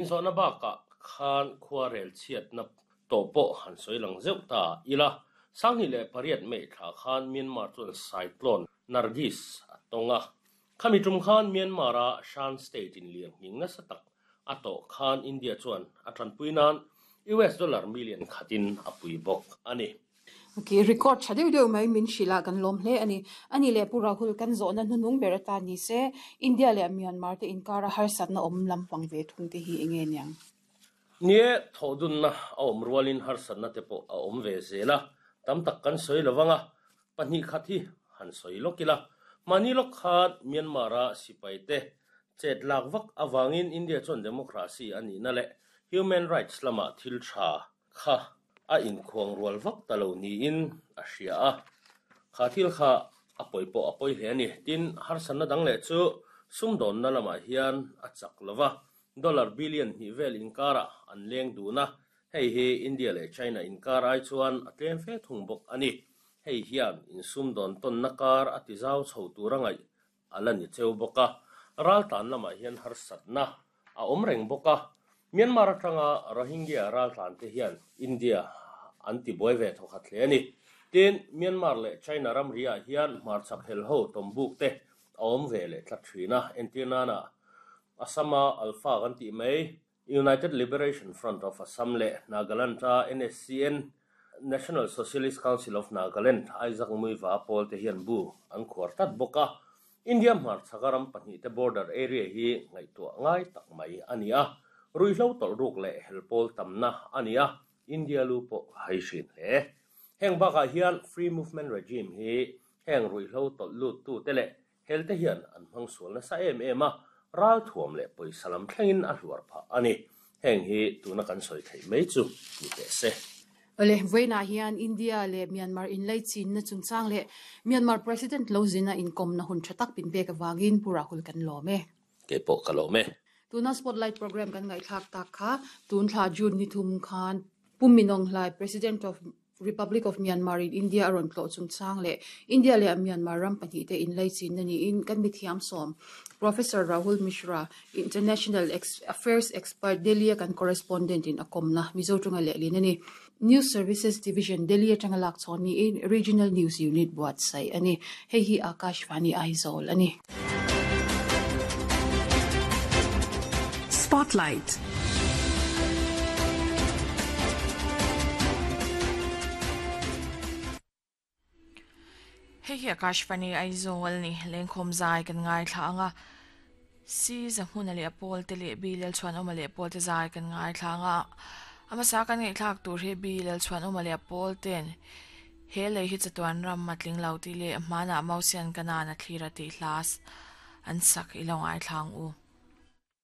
Inzawhna bakah khan khuarel chhiatna tawh pawh han sawi lang zeuh ta ila, 28 May thla khan Myanmar chuan Cyclone Nargis a tawng a. Khami tum khan Myanmar-a Shan State in lirnghing nasa tak a tawh khan India chuan a tanpui nan US dollar million khatin a pui bawk a ni. Ok, record tha deuh deuh mai min hrilh a, kan lawm hle a ni. A nih leh Pu Rahul, kan zawhna hnuhnung ber atan ni se, India leh Myanmar te inkara harsatna awm lampang ve thung te hi enge niang? Nie, thawhdunna a awm rualin harsatna te pawh a awm ve zel a, tam tak kan sawi lo vang a, pahnih khat hi han sawi lawk ila. Mahni lawk khan Myanmar-a sipai te chet lak vak avangin India chuan democracy a nihna leh human rights lamah thil tha kha a inkhuang rual vak ta lo niin a hria a, kha thil kha a pawi pawh a pawi hle a ni. Tin, harsatna dang leh chu sumdawnna lamah hian a chak lo va, dollar billion hnih vel inkarah an leng dun a, hei hi India leh China inkar ai chuan a tlem fe thung bawk a ni. Hei hian insumdawn tawnna kar a tizau chho tur a ngaih a la ni cheu bawk a, raltlan lamah hian harsatna a awm reng bawk a. Myanmar atanga Rohingya raltlan te hian India an ti buai ve thawkhat hle a ni. Tin, Myanmar leh China ramri ah hian hmarchhak helho tawmbuk te a awm ve leh tlat thin a, entir nana Assam-a Alpha kan tih mai United Liberation Front of Assam leh Nagaland-a NSCN, National Socialist Council of Nagaland, Isaac Muiva pawl te hian bu an khuar tlat bawk a. India hmarchhaka ram pahnihte border area hi ngaihtuah ngai tak mai a ni a. Ruihhlo tawlh ruk leh hel pawl tamna a ni a, India lu pawh a hai hrin hle. Heng bakah hian Free Movement Regime hi heng ruihhlo tawlh luttute leh Helte hian an hmang sual nasa em em a, ralthuam leh pawisa lam thlengin a hluar phah a ni. Heng hi tuna kan sawi theih mai chu ni teh se. Awle, vawiinah hian India leh Myanmar inlaichinna chungchang leh Myanmar President lo zina inkawmna hun tha tak min pek avangin Pu Rahul kan lawm e. Kei pawh ka lawm e. Tuna Spotlight Programme kan ngaihthlak tak kha tun thla June ni thum khan Pu Minawnghlai, President of Republic of Myanmar in India a rawn tlawh chungchang leh India leh Myanmar ram pahnihte inlaichinna niin kan mithiam sawm Professor Rahul Mishra, International Affairs Expert, Delhi a kan correspondent in a kawmna Mizo tanga lehlin a ni. News Services Division, Delhi atanga lak chhawn niin Regional News Unit buatsaih a ni. Hei hi Akashvani Aizawl a ni. Spotlight. Hei hi Akashvani Aizawl ni lengkhawm zai kan ngaithla ang a, Si Zahmuna leh a pawl te leh Bi Lalchhuanawma leh pawl te zai kan ngaithla ang a, a hmasa kan ngaihthlak tur hi Bi Lalchhuanawma leh a pawl ten He lei hi chatuan ram a tling lo tih leh hmanah Mausian Kanan a thlir a tih hla an sak i lo ngaithla ang u.